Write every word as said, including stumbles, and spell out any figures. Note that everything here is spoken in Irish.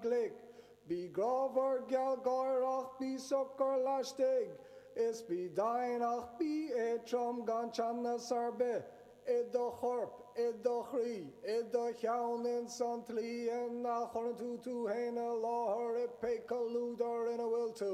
glic. Bí grámhar gealgháireach, bí socair laistigh, is bí domhain ach bí éadrom gan teannas ar bith i do chorp, i do chroí, i do cheann ins an tslí ina chuireann tú tú féin i láthair i pé comhluadar ina bhfuil tú.